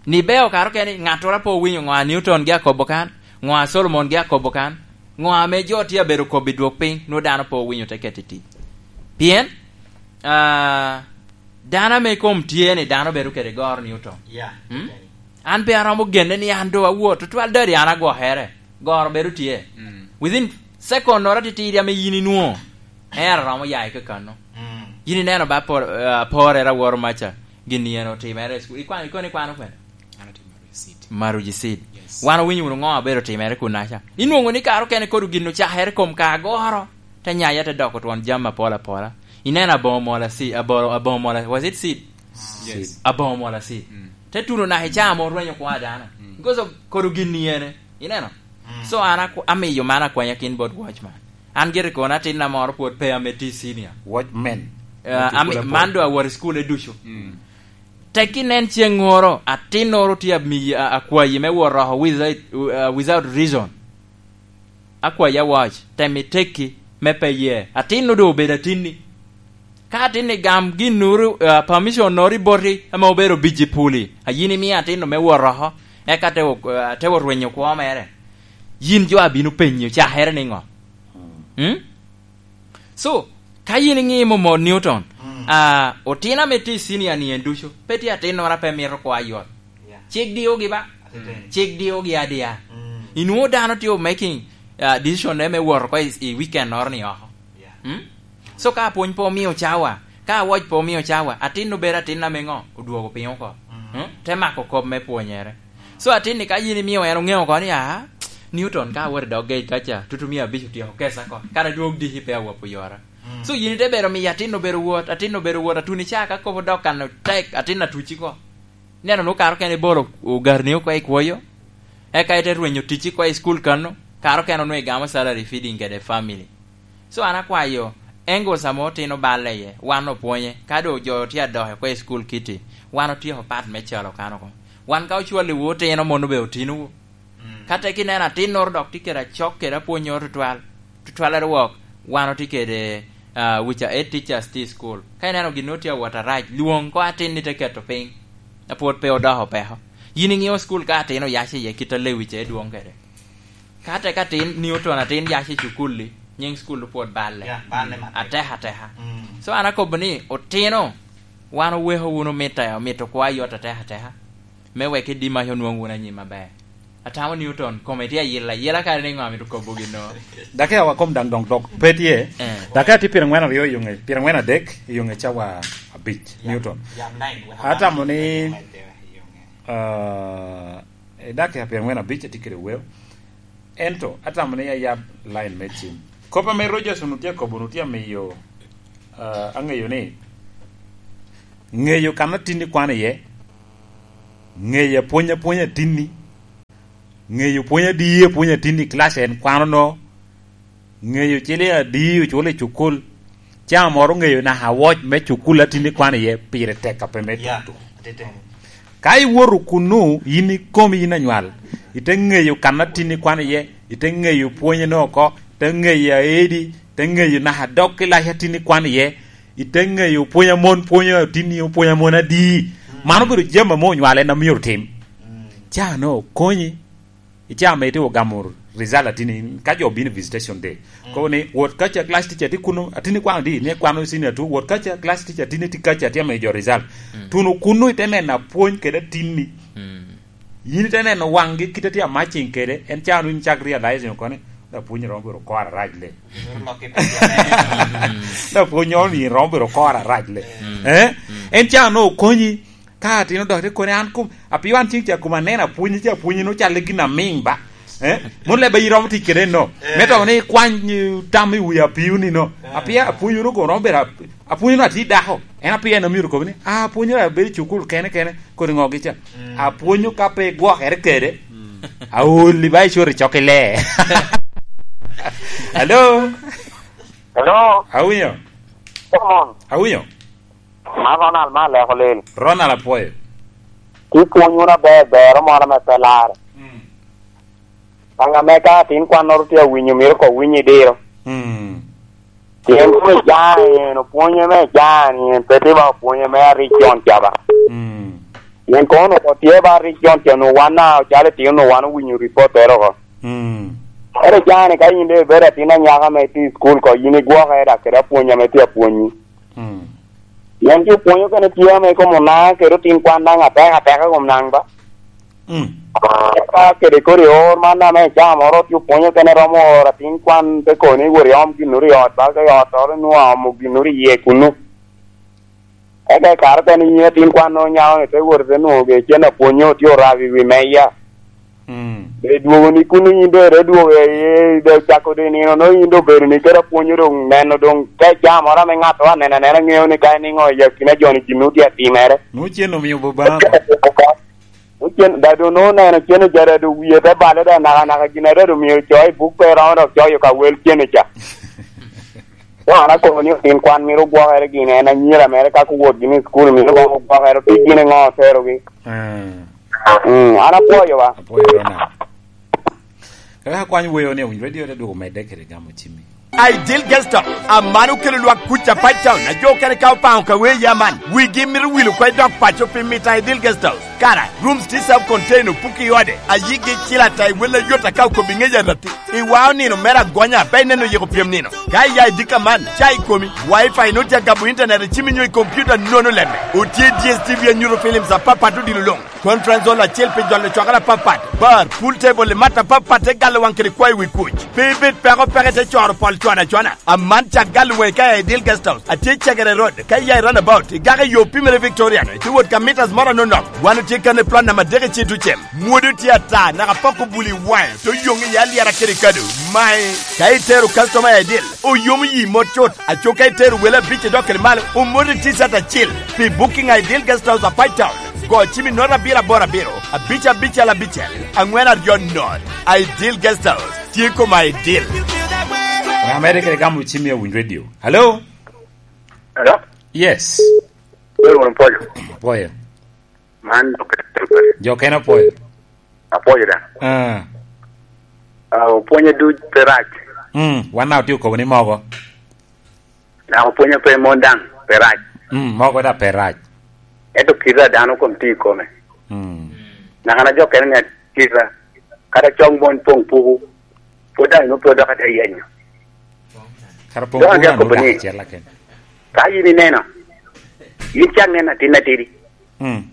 Ni beo kare okene, ŋattoro a pe owinyo ŋo a Newton gi akobo kan, ŋo a Solomon gi akobo kan, ŋo ame jo tye abedo kobo i dwok piny, nwoŋo dano pe owinyo te keto i tic. Pien, ah, dano ame kom tye ni dano bedo kede goro Newton. Yeah. Hmm? An pe aromo genne ni an do awot, tutwal dadi an agwokere. Goro bedo tye. Mm. Within second noro atitidi ame yin inwoŋo, en aromo ya i kakano. Mm. Yin ineno ba por-, eh, aporere aworo maca, gin yen otimere i school. Ikwano, ikono ikwano kwene? An atimo receipt. Maruji seed. Yes. Wan owinyo wunu ŋo abedo timere kunaca? Inwoŋo ni kare okene kodi gin ocakere kom ka agoro, te nyaya te doko twon jami apol apola. Ineno aboŋo mola seed, aboŋo, aboŋo mola, was it seed? Yes. Aboŋo mola seed. Mm. Te tuno naka i caa mo rwenyo kwa dano. Mm. Because of kodi gin ni ene. Ineno? Mm. So an aku-, amiyo man akwanya kin bot watchman. An gire kono atinna moro pwod pe ame tye senior. Watchman. Eh, ami-, man do awot i school e ducu. Mm. Tek inen ceŋŋoro, atinnoro tye ami-, a-, akwayi me wot roko without, uh, without reason. Akwayi awac, tem itekki, me pe ye. Atinno doŋ obedo atinni. Ka atinni gam ginnoro, uh, permission noro i boti, ame obedo biji puli, a yin imio atinno me wot oko, eka te o-, uh, te orwenyo kwo mere. Yin jo abino penyi ocakere niŋo? Mm. Hmm? So, ka yin iŋimo mo Newton, mm, ah, otino ame tye i senior ni en ducu, pe tye atinnoro a pe mito kwo ayot. Yeah. Cik diogi ba? Atiteni. Cik diogi adia. Mm. Inwoŋo dano tye making, ah, decision ne me wot oko i, i weekend noro ni oko. Yeah. Mm? So, ka apwony pe omio cawa, ka awac pe omio cawa, atin obedo atin ame ŋo? Odwogo piny oko. Mm. Mm? Te mako kop me pwonyere. So, atin ni ka yin imio en oŋeo oko ni, "Aa, Newton ka awot i dog gate kaca, tutu mia abic otyeko kesa oko. Kara dwog diki pe awapo yora." Mm. So, yin ite bedo miyo atin obedo wot, atin obedo wot, atuni ca ka kop odok kan tek, atin atuci ko. Neno nu kara okene ibolo ogarni oko i kwoyo, eka ite rwenyo ticci ko i school kano, kara okene onwoŋo igamo salary feeding kede family. So an akwayo, angles ame otino balle iye, wan opwonye, ka doŋ jo tye adok oko i school kiti, wan otyeko part me calo kan oko. Wan ka ocwalliwu otino, mono be otinowu. Mm. Ka tek ineno atinnoro dok tye kede acok kede apwonnyoro tutwal, tutwal arwok, wan otye kede, ah, which are eight teachers tye i school. Ka ineno gin nwoŋo tye awot arac, lwoŋ ko atin ni te keto piny, a pwod pe odoko peko. Yin iŋeo school ka atin oyac iye kit a lewic e dwoŋ kede. Ka tek atin, Newton atin yac i cukul-li, nyiŋ cukul-lu pwod balle. Ya, balle matek. Ateka ateka. Mm. So an akobo ni, otino, wan oweko wunu mito, mito kwa yot ateka ateka, me wek i Dimac onwoŋ wunu anyim aber. Atamo Newton, kome tye ayila, ayila kare ni ŋo amito kobo gin no. Dake awa kom daŋ doŋ dok pe tye. Eh. Dake atye pyerangwen aryo i yo ŋe, pyerangwen adek i yo ŋe cawa abic, ya, Newton. Ya, nine, wek atamo ni, i yo ŋe. Ah, i dakika pyerangwen abic atye kede weo. Ento atamo ni ayab line me cim. Kop ame Rogers onwoŋo tye akobo, onwoŋo tye amiyo, ah, aŋeyo ni Ŋeyo kan atinni kwano iye, ŋeyo apwony apwonya atinni, ŋeyo pwony adi apwonya atinni i kilac en kwano no, ŋeyo ciliŋ adi oculo i cukul, ca moro ŋeyo naka awoc me cukul atinni kwano iye pire tek a pe me Ya, tutu. Atete. Ka iwoto kunnu, yin ikomi yin anywal, ite ŋeyo kan atinni kwano iye, ite ŋeyo pwonyene oko, ite ŋeyo aedi, ite ŋeyo naka dog kilac atinni kwano iye, ite ŋeyo pwony a mon pwonyo atinni, pwony a mon adi. Mm. Mano obedo jami ame onywal en a myero otim. Mm. Ca no okonyi. I ca ame itye ogamo result atinni, ka jo obino i visitation day, mm, kobo ni, "Wot kaca, class teacher tye kuno, atinni kwano di?" Ni kwano senior two, "Wot kaca, class teacher atinni tye kaca, tye amiyo jo result." Mm. Tuno kunnu ite neno apwony kede atinni. Mm. Yin ite neno waŋgi kite tye a matching kede, en ca no in cak realize ni koni, "Da pwony romo bedo kor arac le." Lok i piny. Da pwony romo bedo kor arac le. Mm. Eh? Mm. En ca no okonyi, ka atin odok te koni an kom, apio an ceng ca kom aneno apwonye ca apwonye no calo gin amiŋ ba. Eh? Mon leba iromo tic kede no. Eh. Me to ni ikwany, eh, tam i wi apio ni no. Eh. Apia apwonyo no kono romo bedo ap-, apwonyo no ati dako. En apia en omyero kobo ni, "Ah, apwonyo ra bedo cukul kene kene, kodi ŋo gi ca." Mm. Apwonyo ka pe igwokere kede. Mm. Aoli ba icoro i cok ile. Hello? Hello? Awinyo? Come on. Awinyo? Man Ronald, man Aleko Lel. Ronald, apwoyo. Ti pwony wunu aber, bero moro ame pe larre. Mm. Baŋ ame ka atin kwannoro tye awinyo, myero ko winy i diro. Mm. Pien pwony jani en, opwonye me jani en, pe tye ba opwonye me arik con ca ba. Mm. Pien kono ko tye ba arik con ca, onwoŋo wan na ocalo itino, onwoŋo wan owinyo ripottere oko. Mm. Ento jani ka yin doŋ ibedo atin anyaka ame tye i cukul ko, yin igwokere dak kede apwony ame tye apwonyi. Mm. Pien jo pwonyo kene tye ame kom onaŋ kede otin kwan daŋ atek ateka kom naŋ ba. Mm. Ka kede kodi or man ame icaa moro tye opwonyo kene romo oro atin kwan te koni wot iom ginnoro i ot ba, ka i ot oro inwoŋo aomo ginnoro iye kunnu. Eka i kare okene yin atin kwan nwoŋo nyako ni te wot ite nwoŋo ge cen apwonyo tye orabo i wi meja. Mm. Be dwogo ni kun yin doŋ ite dwogo i, i, i, cako doŋ i nino, nwoŋo yin doŋ obedo ni kede apwonyo doŋ neno doŋ ka icaa moro ame ŋat aneno anena ŋeo ni ka iniŋo i akina joni gin otye atimere. Nwoŋo cen omio Obama. Nwoŋo cen, da doŋ nwoŋo neno cen ojada doŋ wie te bale da naka naka gin ate doŋ mio coyo i buk pe romo dok coyo ka wel cen ca. Doŋ an akobo ni otin kwan mito gwokere gin en anyira mere ka kuwot gini i cukul mito gwokere, otic gin iŋo oterogi. Ah. Mm, an apwoyo ba. Apwoyo Ronald. Kaka akwany weo ni owinjo radio te dwogo medde kede gamo cimmi. Ideal Guest House, aman okelo lwak kuc a Pine Town, a jo okene ka opaŋo ka wee ya man. Wigi mito wil oko i dok paco pi mito a Ideal Guest House. Kara, rooms tye self contained, opuki i ode, a yigi cil ata i wel ayot aka okobbi ŋec arati. Iwao nino mere agonya, pe ineno yiko pyem nino. Ka iya i dika man, ca i komi, Wi-Fi nwoŋo tye agabo internet i cimi nyo i computer nono lemme. Otye D S T V anyuto films apapat odilo luŋ. Conference hall acel pi jolo cwakere apapat, bar, pool table i mat apapat te galo waŋ kede kwayo wi kuc. Pe ibed peko peke te coro pol cwana cwana. Aman cak galo waŋi ka i Ideal Guest House, atye i Cegere Road, ka iya i runabout, igako i yo Pimere Victorian, itye wot ka meters moro anonok. Wan otye kan i plot namba adek i Citucem. Mwodo tye ata, naka pok obuli i waŋe, to yoŋ iye alyera kede kado. Mae, ka itero customer i Ideal, oyomo yi mot cut. Aco ka itero wele abic i dok kede malo, omoti T-shirt acel. Pi booking a Ideal Guest House a Pine Town, go cim i note abiro aboro abiro, abic abicel abicel, aŋwen aryo note. Ideal Guest House, tye koma Ideal. Ŋa mere kede gamo cim i Awiny Radio? Hello? Hello? Yes. Wel wunu pwoyo. Pwoyo. Man jo kene. Jo kene opwoyo. Apwoyo da. Ah. Ah, opwonye duc pe rac. Mm, wan na otye okobo ni mogo. Dok opwonyo pe mon daŋ pe rac. Mm, mogo da pe rac. Ento kite a dano kom tye i kome. Mm. Naka na jo kene ni kite, kata cong mon poŋ puku, pwod daŋ inwoŋo pe odok ate yenyo. Kara poŋ Dok puku ate na akobo ni, nwoŋo acel aken. Ka yin ineno, yin cak nen atin atidi. Mm.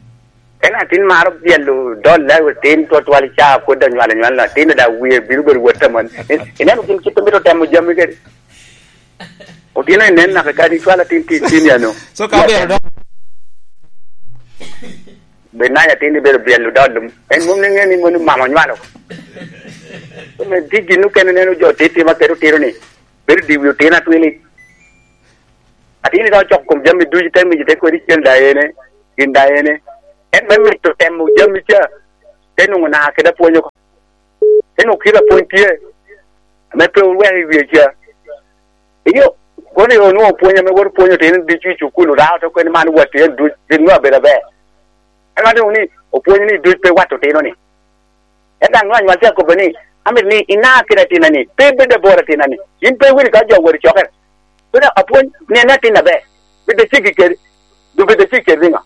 En atin maro byelo dolle atin twatwal ca pwod anywalo anywal, atin da wie bino bedo wot aman. In-, ineno gin kit omito temo jami kede. Otino inen naka kadi cwal atin ti-, tin ya no. So ka obedo dok. Be nanya atin ibedo byelo dol, en mom ni ŋe ni moni mama onywalo. So me tye gin okene neno jo tittima kede otino ni, bedo diwi otino atwili. A Tin iromo coko kom jami ducu, te miyo, te kodi cen da ene, gin da ene. En me mito temo jami ca, te nwoŋo na kede apwony oko. Te nwoŋo kite apwony tye, ame pe oweko i wie ca. Iyo, kono i onwoŋo pwony ame wot pwonyo otino ducu i cukul, orao to kweni man watti en duc, gin nwoŋo abedo aber. En wan doŋ ni, opwonyo ni duc pe wat otino ni. En daŋ nwoŋo anywal tye akobo ni, amito ni ina kede atina ni, pe bed abor atina ni. In pe iwinyo ka jo wot i cokere. Kono apwony ni en atin aber. Bed aceggi kede, du bed aceggi kede niŋo?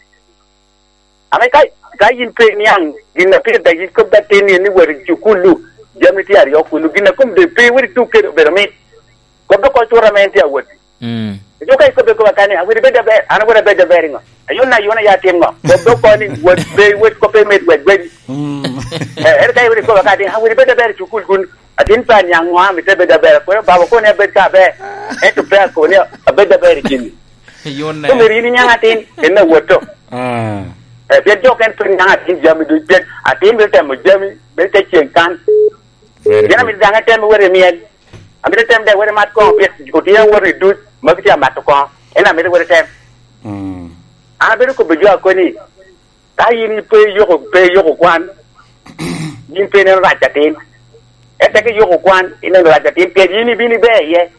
Ame ka, ka yin pe iniaŋ gin a pire, dok yin kobbi atin ni, ni wot i cukul-lu, jami tye aryo kunu, gin a kom doŋ pe iwot ituk kede obedo mit. Kobbi oko cut ame en tye awot. Mm. Eco ka ikobbe kop akani, "Awinyo ibed aber," an awinyo abed aber iŋo? Ayuna ayuna ya tim ŋo? Kobbe oko ni, "Wot pe iwot kop imit wek gwedi." Mm. Eh, ere ka iwinyo ikobbe akani, "Awinyo ibed aber i cukul kun, atin pe aniaŋ ŋo, amito abed aber." Akwero, "Baba, kono ni abed ka aber." Ento pe akobo ni abed aber i gini. Yun ne. Omyero in iniaŋ atin, en awotto. Ah. Eh, pien jo okene pe niaŋ atin jami duc, pien atin bino temo jami, bino te ceŋ kan. Very Pien good. Amito daŋ etem wot i myel. Amito etem daŋ wot i mat koŋo, pien otye wot i duc, ma gitye amato koŋo. En amito wot etem. Mm. An abedo kobbi jo akoni, ka yin pe iyoko, pe iyoko kwan, yin pe ineno rac atin. Ento ka iyoko kwan, ineno rac atin, pien yin ibino iber iye.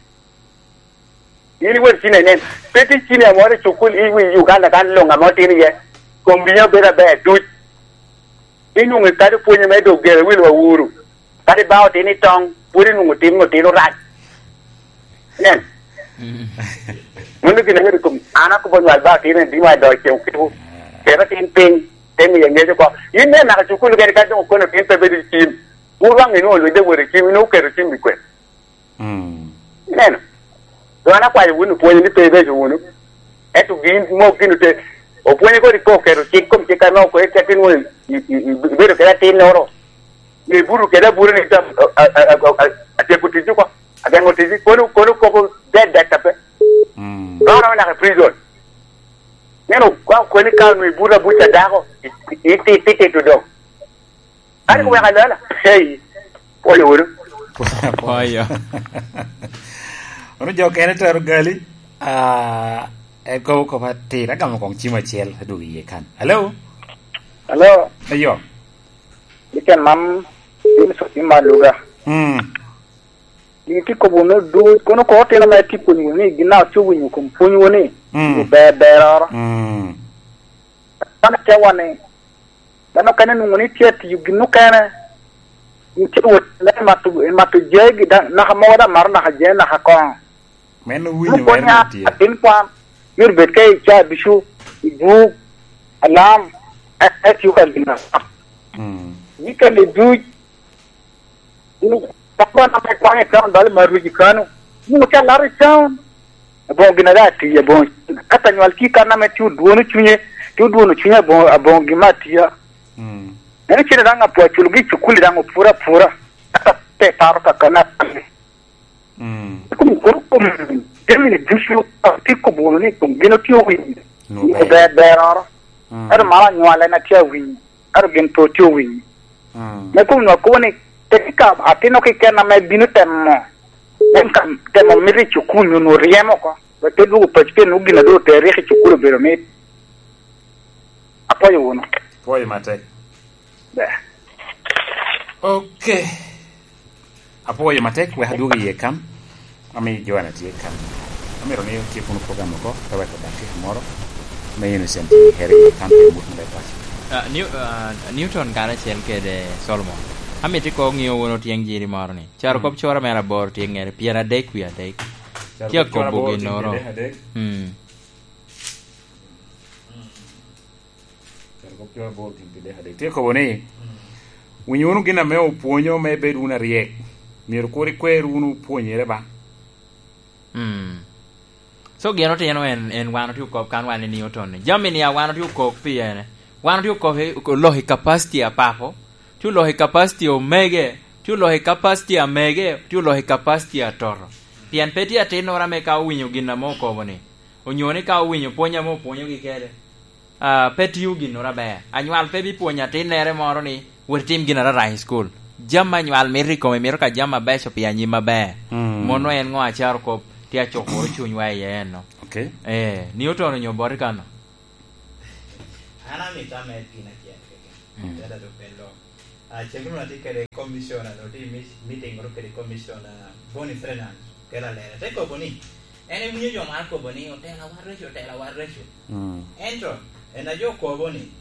In iwot cin inen, pe tye cin amoro i cukul i wi Uganda kan luŋ ame otino iye, kom winyo bedo aber duc. Inwoŋo kadi pwonye me dok gere wil wa uru, kadi ba otino i toŋ, pwod inwoŋo tim otino rac. Nen. Mm. Mano gin ame rik an akobo nywal ba otino i dima i dog ceŋ okiko. Kero tin piny, te miye ŋec oko. In nen naka cukul kene ka doŋ okono tin pe bedo i cim. Wun waŋ inwoŋo lwidde wot i cim, inwoŋo oketo cim i kwene. Mm. Ineno? Doŋ an akwayo wun opwonyo ni pe ibeco wunu. Ento gin mok gin ote, opwonyo kodi pe oketo cik kom cik ame okwero cak inwoŋo i, i, i, ibedo kede atinnoro. Ni buto kede abuto ni tam, a, a, a, a, a, atyeko ticci oko. Ageŋo ticci. Kono, kono koko dead dead ape. Mm. Ka oromo naka i prison. Ineno, ka okoni ka onwoŋo ibuto abuca dako, i, i, i, i, tito doŋ. Kadi Mm. kuweko alala. Hey, pwoyo wunu. Pwoyo. Ono jo kene tero gali, ah, en kobo kop atir, agamo koŋ cim acel, adwogo iye kan. Hello? Hello? Ayo. Weekend man, in so cim ma luga. Mm. Gin tye kobo wunu duc, kono kono otino ma itye pwony wunu ni, gin na otye owinyo kom pwony wunu ni, Mm. ober beroro. Mm. Kan akewa ni, dano okene nwoŋo ni tye atiyo gin okene, gin tye wot me mato, mato jegi, da-, naka mogo daŋ mato naka jegi naka koŋo. Meno winyo, An pwony meno a-, tye. Atin kwan, myero bed ka i ca ducu, i buk, alam, e-, etiyo ka gin alam. Mm. Weekend duc, Ka kwan ame kwaŋ i town bal mar ruci kano, nwoŋo ca laro i town. Aboŋo gin a daŋ atiyo, aboŋo, ka anywal tye kan ame tye odwono cunye, tye odwono cunye aboŋo, aboŋo gin me atiya. Mm. Eno cene daŋ apwo aculo gi i cukuli daŋ opura apura. Ata pe paro kakana. Mm. Kum, kum, kum, jami ni ducu, tye kobo wunu ni kum gin otye owinyo. Nwoŋo ber. Ber, beroro. Mm. Ento mano anywal en atye awinyo. Ento gin pe otye owinyo. Mm. Me kun nwa kobo ni, teki ka atino keken ame bino temo, en ka temo mito i cukul nyo nwo ryemo oko, wek te dwogo paco pien nwo gin a doŋ otere ryeko i cukul obedo mit. Apwoyo wunu. Pwoyo matek. Ber. Ok. Apwoyo matek, wek adwog iye kan. Ami Joanna tye kan. Amito ni otyek wunu program oko, ka wek odak kika moro. Me Innocent i Heri kan pe mut me paco. Ah, New-, ah, Newton karacel kede Solomon. Amito ikoŋ ŋeo wunu tyeng jiri moro ni. Caro Mm. kop cora mere aboro tye ŋere, pyen adek wie adek. Caro Tye kop cora akobo aboro tye ginnoro. pyen adek. Mm. Caro kop coro aboro gin pi dek adek. Tye kobo ni, winyo wunu gin ame opwonyo me bed wunu aryek. Myero kur ikwer wunu pwonyere ba. Mm. So, gin otino en, en wan otye okop kan wan i Newton ni. Jami ni a wan otye okop pi ene. Wan otye okop i, oloko i capacity a papo. Tye oloko i capacity omege. Tye oloko i capacity a mege. Tye oloko i capacity a toto. Pien pe tye atinnoro ame ka owinyo gin ame okobo ni. Onyo ni ka owinyo pwony ame opwonyogi kede. Ah, pe tio ginnoro aber. Anywal pe bipwonyo atinnere moro ni, "Wot itim gin arara i cukul." Jami anywal mito i kome, mito ka jami abeco pi anyim aber. Mm. Mono en ŋo acaro kop, tye acukuro cunywa iye eno. Okay. Eh, ni otono nyo boti kano? An amito amed gin acel keken. Mm. Tela do pe lok. Ah, ceguru atye kede commissioner, no tye i mi-, meeting ru kede commissioner Boni Fernandes, kela lere. Te kobo ni, en ewinyo jo mar kobo ni, "Otela wa reco, otela wa reco." Mm. Ento, en a jo kobo ni,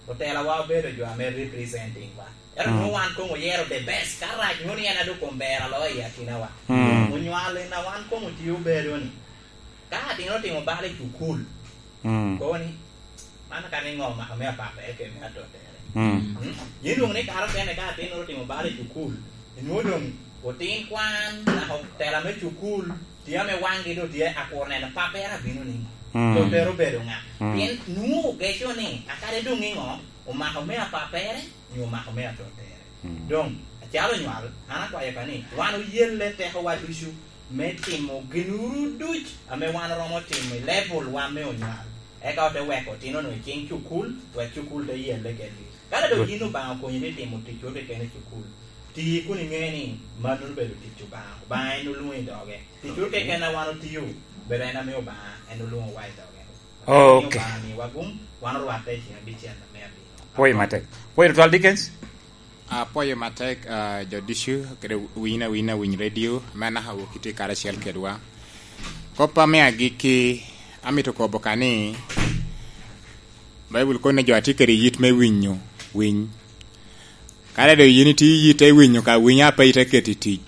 "Otela wa obedo jo ame representing wa." Ento Mm. nwoŋo wan koŋ oyero the best, ka rac nwoŋo ni en a dok kom ber alo i akinawa. Mm. Onywal en a wan koŋ otio bedo ni. Ka atino otimo bal i cukul, Mm. kobo ni, "Man ka ni ŋo omako me apapere kede me atotere?" Mm. Mm? Yin dwoŋ ni kare okene ka atin otimo bal i cukul, inwoŋo doŋ otin kwan, naka otela me cukul, tye ame waŋgi doŋ tye akur neno papere abino niŋo. Mm. Totere obedo ŋa? Mm. Pien nwoŋo ogeco ni, akade doŋ niŋo, omako me apapere, nyo omako me atotere. Mm. Doŋ, acalo onywal, an akwayo ka ni, wan oyelle tekowa ducu me timo ginuru duc ame wan oromo timo i level wa me onywal. Eka ote weko otino-nu i ciŋ cukul, wek cukul te yelle kedgi. Ka doŋ Good. yin Obaŋa okonyi ni timo ticwu keken i cukul, ti kun iŋe ni mano obedo tic Obaŋa. Obaŋa en olwoŋo i doge. Ticwu keken a wan otio, bedo en ame Obaŋa en olwoŋowa i doge. Okay. Obaŋa miwa gum, wan orwatte i ciŋ abicel ame abino. Pwoyo matek. Pwoyo tutwal, Dickens. Apwoyo matek, ah, jo ducu, kede winy awiny awiny radio, me anaka wok itye karacel kedwa. Kop ame agikki, amito kobo ka ni, Baibul kono ni jo a tye kede yit me winyo, winy. Kare doŋ yin itye yit te winyo ka winyo a pe ite keto i tic,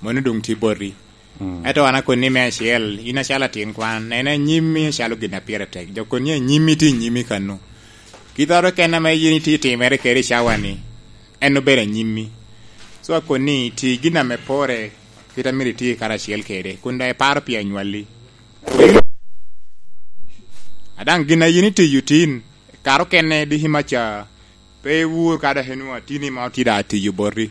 mano doŋ tye boti. Mm. Ento an akoni me acel, in acalo atin kwan, en anyimmi acalo gin a pire tek. Jo koni anyimmi tye anyimmi kano. Kit oro kene ame yin itye timere kede i cawa-ni, en obedo anyimmi. So akoni, ti gin ame pore, kit a myero iti karacel kede, kun daŋ iparo pi anywalli. A daŋ gin a yin itiyo tin, kare okene diki maca, pe iwur ka dok inwoŋo atini ma otye daŋ atiyo boti.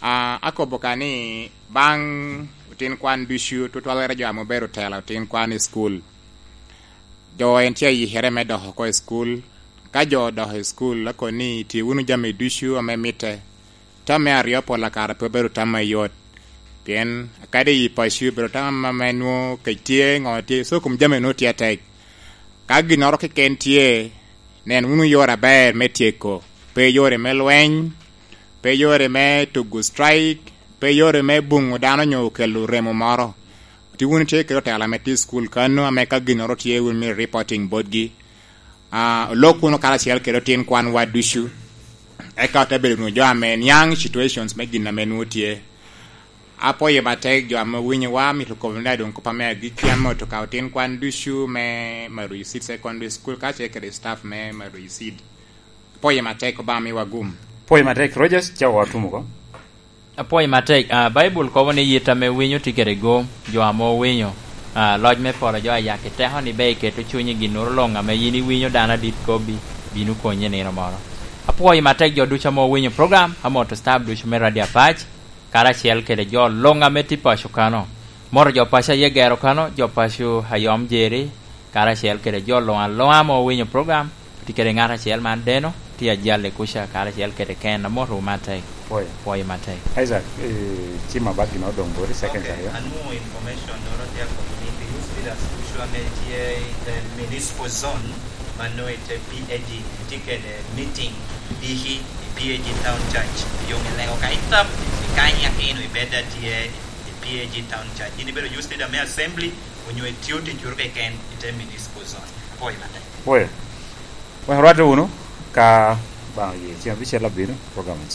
Ah, akobo ka ni baŋ otin kwan ducu, tutwalere jo ame obedo otela otin kwan i cukul. Jo en tye ayikere me dok oko i cukul. Ka jo odok i cukul, akoni tye wunu jami ducu ame mitte. Tam me aryo pol kare pe obedo tam mayot, pien kadi i paco obedo tam ame nwoŋo kec tye, ŋo tye, so kom jami nwoŋo tye atek. Ka ginnoro keken tye, nen wunu yore aber me tyeko, pe yore me lweny, pe yore me tugo strike, pe yore me buŋo dano nyo kelo remo moro. Tye wunu tye kede otela ame tye i cukul kano, ame ka ginnoro tye wun myero reporting botgi. Ah, olok wunu karacel kede otin kwanwa ducu, eka ote bedo wunu jo ame niaŋ situations me gin ame nwoŋo tye. Apwoyo matek jo ame owinyowa, amito kobo ni doŋ kop ame agikki ame oto ka otin kwan ducu me Maroyo Seed Secondary School, kacel kede staff me Maroyo Seed. Apwoyo matek, Obaŋa miwa gum. Apwoyo matek, Rogers, ca watumo oko. Apwoyo matek. Ah, Baibul kobo ni yit ame winyo tye kede gom, jo ame owinyo, ah, loc me polo jo a yaki teko ni be iketo cuny i ginnoro luŋ ame yin iwinyo dano adit kobbi, bino konyi i nino moro. Apwoyo matek jo ducu ame owinyo program, amoto staff ducu me Radio Apac, karacel kede jo luŋ ame tye paco kano. Moto jo paco aye gero kano, jo paco a yom jeri, karacel kede jo luŋ aluŋa ame owinyo program. Atye kede ŋat acel man deno, tye ajal i kuca karacel kede Ken, amotowu matek. Pwoyo. Pwoyo matek. Isaac, eh, cim abak gin odoŋ boti seconds Okay, aryo. Anwoŋo information noro tye akobo ni the youth leaders ducu ame tye i the municipal zone, ma nwoŋo i te P A G, tye kede meeting diki i P A G Town Church. Yoŋ i lego ka itap, i kany akino ibed atye i P A G Town Church. Yin ibedo youth leader me assembly, onyo itio ticoro keken i te municipal zone. Apwoyo matek. Pwoyo. Wek orwatte wunu, ka Obaŋa oye, ceng abicel abino, program en